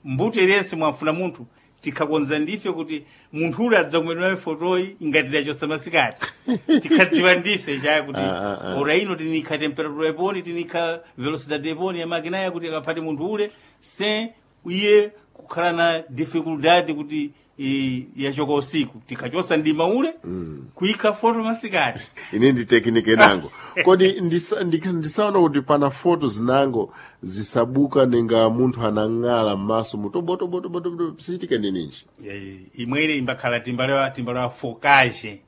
Mbuto iliyese mwafuna munthu tikhakonza ndife kuti munthu ule adzakumedwa fotoyi ingati tachosa masikati tikhadziwa ndife chaya kuti ora ino tinikha temperatura iponi, tinikha velocidade iponi ya makina ya kuti akaphati munthu ule se iye kukhala na dificuldade kuti yachoka usiku tikhachosa ndima ule kuikha foto masikati. Ine ndi tekinike nango. Kodi ndisaona kuti pana foto zinango zisabuka ninga munthu anang'ala m'maso mutobotobotoboto sichitika nininji? Imwene imbakhala timbalewa fokaje.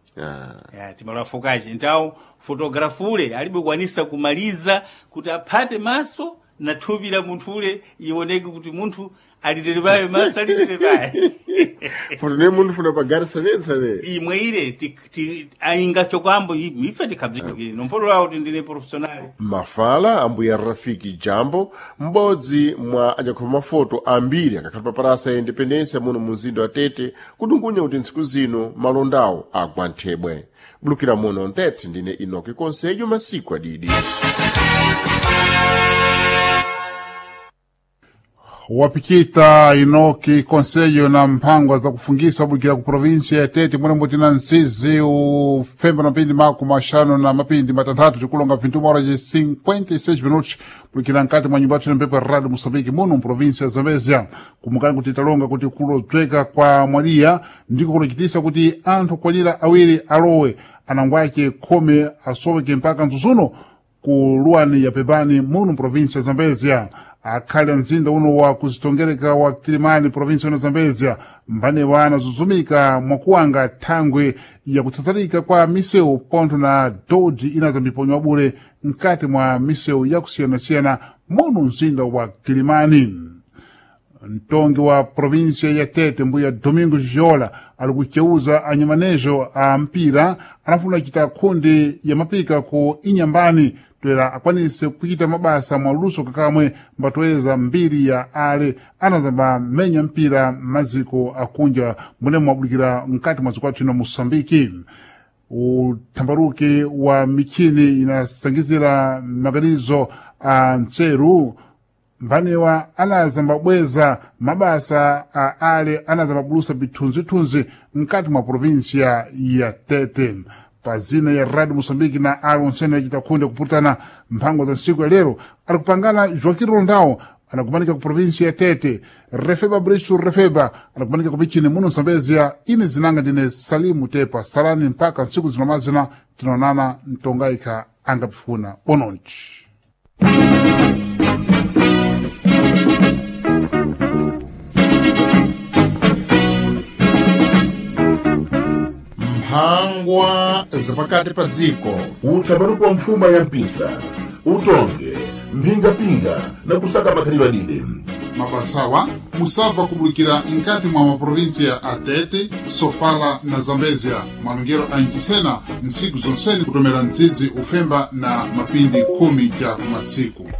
Ya, timbalewa fokaje ntawo fotografule alibe kwanisa kumaliza kuti aphate maso na thupi la munthu ule ioneke kuti munthu alitere maso alitere paye. Foto ne munthu funa pagari sanesane. Imwe ile ainga chokwambo ife tikhabzikire nompolola kuti ndine professional. Mafala ambuya Rafiki Jambo, m'bodzi mwa anyakhoma mafoto ambiri akakhala pa parasa ya Independencia muno mu mzinda wa Tete, kudungunya kuti ntsiku zino malondawo agwa nthebwe. Bulukira muno ntete ndine Inoki Konsejo masiku adidi. Wapikita Inoki Konselho na mphangwa za kufungisa bukira ku provinsia ya Tete munembo tina nsizi ufemba na mapindi mako maxanu na mapindi matanthatu tikulonga 21 horas e 56 minutos bukira nkati mwa nyumba yathu ina Radio Moçambique muno mprovinsia ya Zambezia. Kumukani kuti talonga kuti kulodzweka kwa mwaliya ndiko kulochitisa kuti anthu kwalira awiri alowe anangwake khumi asoweke mpaka mzuzuno ku luwani ya Pebani muno mprovinsia ya Zambezia. Akhale mzinda uno wa kuzitongereka wa Kilimani provinsi ya Zambezia mbane wana zuzumika mwakuwanga thangwe ya kutsatsarika kwa misewu pontho na dodi ina zambiponywa bure mkati mwa misewu yakusiyanasiyana muno mzinda wa Kilimani. Mtongi wa provinsia ya Tete mbuya Domingos Viola ali kuceuza anyamanejo a mpira anafuna kuchita khundi ya mapika ku inyambani toera akwanise kuchita mabasa mwaluso kakamwe mbatoeza mbiri ya ale anazamba menya mpira maziko akunja mune mwabulikira mkati mwa zikwathu ino Moçambique. Uthambaruki wa michini inasangizira maganizo a ntseru mbanewa anazambabweza mabasa a ale anazambabulusa bithunzithunzi mkati mwa provinsia ya Tete. Pazina ya Radio Moçambique na ali onsene yachita khunde kuputana mphango za ntsiku ya lero ali kupangana Joaquim Rondao anakumanika ku provinsia ya Tete, Refeba Brisu Refeba anakumanika kupichini muno Zambezia. Ine zinanga ndine Salimu Tepa salani mpaka ntsiku zinomazina tinaonana mtongaika angapifuna bononji. Mphangwa zapakati pa dziko. Uthambaruko wa mfuma ya mpisa utonge mphingapinga na kusaka makhalidwe adide. Mabasawa musabva kubulikira nkati mwa maprovinsia a Tete, Sofala na Zambezia malongero a ncisena ntsiku zonsene kutomera mdzizi ufemba na mapindi khumi ja kumatsiku.